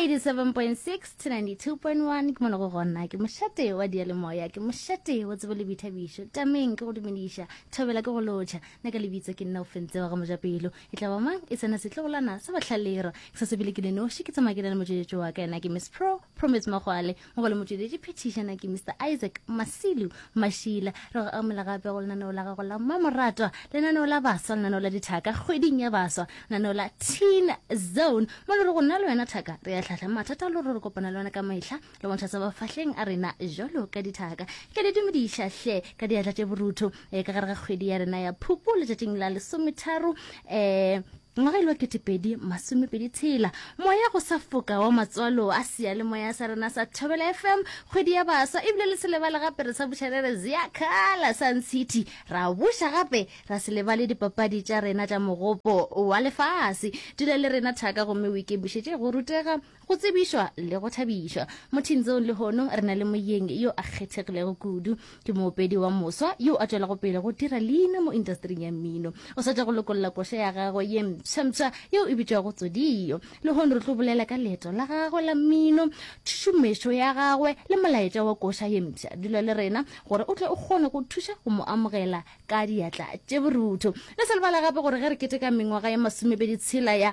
87.6 to 92.1 ke mone go gona ke mošate wa diyalemoya ke mošate wa tsebo le boithabišo tameng ke go dumediša thobela ke go lotšha nna ka lebitso ke nna o fentse wa ga mojapelo e tla ba mang e tsena setlogolana sa batlhalero ke sa sebele ke le noši ke tsamaya ke na le motšweletši wa ka ena ke miss pro promise magwale mo go le motšweletši phethiša na ke mr isaac masilu mašila re go amela gape go lenaneo la gago la mmamoratwa lenaneo la baswa lenaneo la dithaka kgweding ya baswa lenaneo la teen zone mo le re go nna le wena thaka re ya tlhahla mathata le gore re kopana le wena ka mehla le bontšha sa mafahleng a rena jalo ka dithaka ke le dumediša hle ka diatla tše borutho um ka gare ga kgwedi ya rena ya phupu letšatšing la lesometharo um ngwaga ile wa ketepedi masomepedi tshela moya go sa foka wa matswalo a seyalemoya sa rena sa thobela fm kgwedi ya baswa ebile le se lebale gape re sa buša re re ziakhala sun city ra buša gape ra se lebale dipapadi tša rena tša mogopo wa lefase dula le rena thaka gomme o ikemišetše go rutega Go tsebišwa le go thabišwa. Mo Teen Zone lehono re na le moyeng yo a kgethegilego kudu. Ke moopedi wa moswa yo a tšwelago pele go dira leina mo indastering ya mmino. O sa tšwa go lokolla koša ya gagwe ye mpshampsha yeo e bitšwago Tsodio. Lehono re tlo bolela ka leeto la gagwe la mmino, tšhušumešo ya gagwe le molaetša wa koša ye mpsha. Dula le rena gore o tle o kgone go thuša go mo amogela ka diatla tše borutho. Le se lebale gape gore ge re keteka mengwaga ye masomepedi tshela ya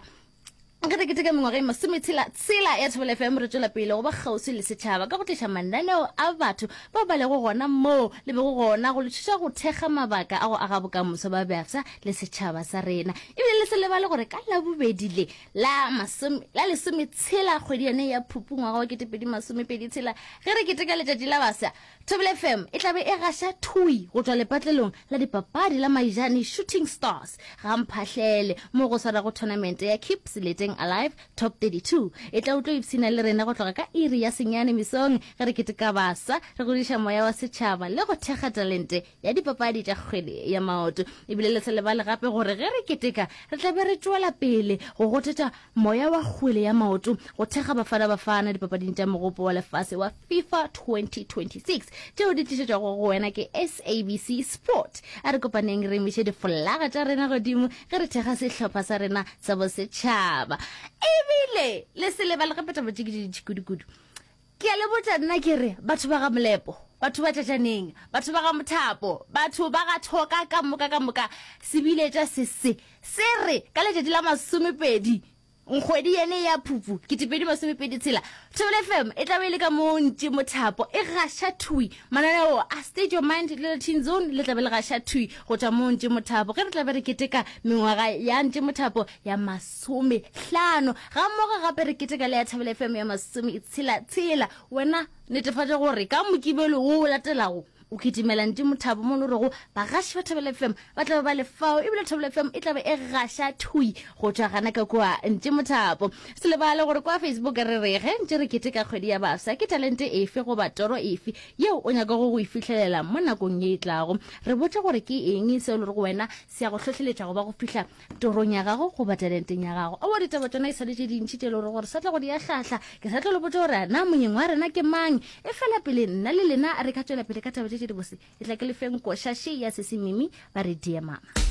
Ge re keteka mengwaga e masometshela tshela ya Thobela FM re tšwela pele go ba kgauswi le setšhaba ka go tliša mananeo a batho bao ba lego gona moo le bego gona go le thuša go thekga mabaka a go aga bokamoso ba bafsa le setšhaba sa rena. Ebile le se lebale gore ka Labobedi le la masome la lesometshela kgwedi yone ya Phupu ngwaga wa 2027 ge re keteka letšatši la bafsa Thobela FM e tla be e gaša thui go tšwa lepatlelong la dipapadi la Maijane Shooting Stars ga Mphahlele mo go swarago thonamente ya Keep Seleteng Alive Top 32. E tla o tlo ipshina le rena go tloga ka iri ya senyane mesong ge re keteka baswa, re godiša moya wa setšhaba le go thekga talente ya dipapadi tša kgwele ya maoto. Ebile le se lebale gape gore ge re keteka re tla be re tšwela pele go gotetša Moya wa kgwele ya maoto go thekga Bafana Bafana dipapading tša Mogopo wa Lefase wa FIFA 2026 tšeo di tlišetšwago go wena ke SABC Sport. A re kopaneng re emiše difolaga tša rena godimo ge re thekga sehlopha sa rena sa bosetšhaba. Ebile le se lebale gape taba tše ke tše dintši kudu-kudu. Ke a le botša nna ke re batho ba ga Molepo, batho ba Tšatšaneng, batho ba ga Mothapo, batho ba ga Thoka ka moka ka moka, sebiletša se se se re ka letšatši la masomepedi kgwedi yene ya Phupu ketepedi masomepedi tshela, Thobela FM e tla be e le ka mo Ntši Mothapo e gaša thwi mananeo a State Your Mind le la Teen Zone le tla be le gaša thwi go tšwa mo Ntši Mothapo ge re tla be re keteka mengwaga ya Ntši Mothapo ya masome hlano ga mmogo gape re keteka le ya Thobela FM ya masome tshela tshela. Wena netefatša gore ka Mokibelo wo o latelago o kitimela Ntši Mothapo mo le rego bagaši ba Thobela FM ba tla be ba le fao ebile Thobela FM e tla be e gaša thui go tšwa gana ka kua Ntši Mothapo. Se lebale gore kwa Facebook re re ge ntše re keteka kgwedi ya bafsa ke talente efe goba toro efe yeo o nyakago go e fihlelela mo nakong ye e tlago. Re botše gore ke eng seo le rego wena se ya go hlohleletša go ba go fihla torong ya gago goba talenteng ya gago. Aowa ditaba tšona e sa le tše dintši tše e le gore gore sa tla go di ahlahla. Ke sa tlo le botša gore na monyeng wa rena ke mang. E fela pele nna le lena re ka tšwela pele ka taba tše tše dibose, e tla ke le feng koša še ya Sesi Mimi ba re Dear Mama.